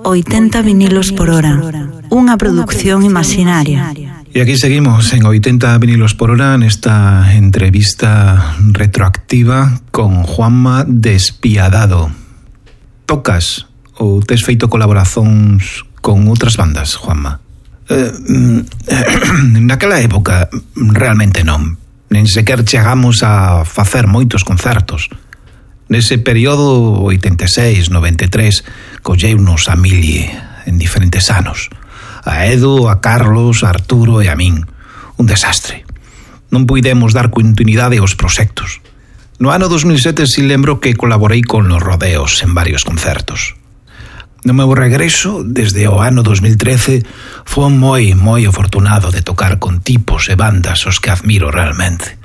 80 vinilos por hora, unha produción imaginaria. E aquí seguimos en 80 vinilos por hora nesta entrevista retroactiva con Juanma Despiadado. Tocas ou tes feito colaboracións con outras bandas, Juanma? Naquela época realmente non. Nen sequer chegamos a facer moitos concertos. Nese período 86-93 colleunos a Mili en diferentes anos. A Edu, a Carlos, a Arturo e a min. Un desastre. Non puidemos dar continuidade aos proxectos. No ano 2007 si lembro que colaborei con Los Rodeos en varios concertos. No meu regreso, desde o ano 2013, foi moi afortunado de tocar con tipos e bandas os que admiro realmente.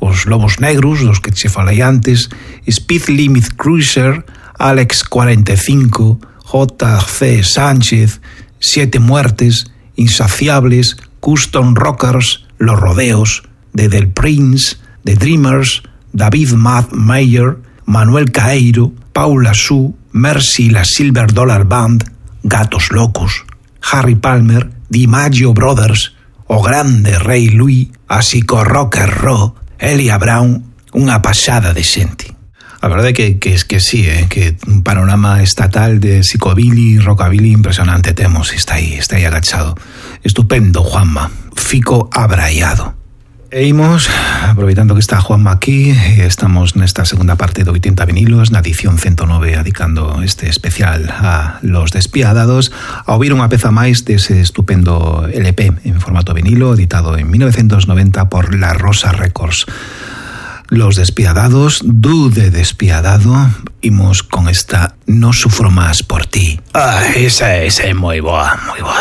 Os Lobos Negros, dos que che falei antes, Speed Limit Cruiser, Alex 45, J.C. Sánchez, Siete Muertes, Insaciables, Custom Rockers, Los Rodeos, The Del Prince, The Dreamers, David Mad Mayer, Manuel Caeiro, Paula Su, Mercy la Silver Dollar Band, Gatos Locos, Harry Palmer, DiMaggio Brothers, O Grande Rei Louis, así co Rocker Ro, Elia Brown, unha pasada de xente. A verdade é que sí, que un panorama estatal de psicobilly, rockabilly impresionante temos, está aí agachado. Estupendo, Juanma, fico abraiado. E imos, aproveitando que está Juanma aquí, estamos nesta segunda parte de 80 vinilos, na edición 109, dedicando este especial a Los Despiadados, a ouvir unha peza máis dese estupendo LP en formato vinilo, editado en 1990 por La Rosa Records. Los Despiadados, Du de Despiadado, imos con esta No sufro más por ti. Esa é moi boa, moi boa.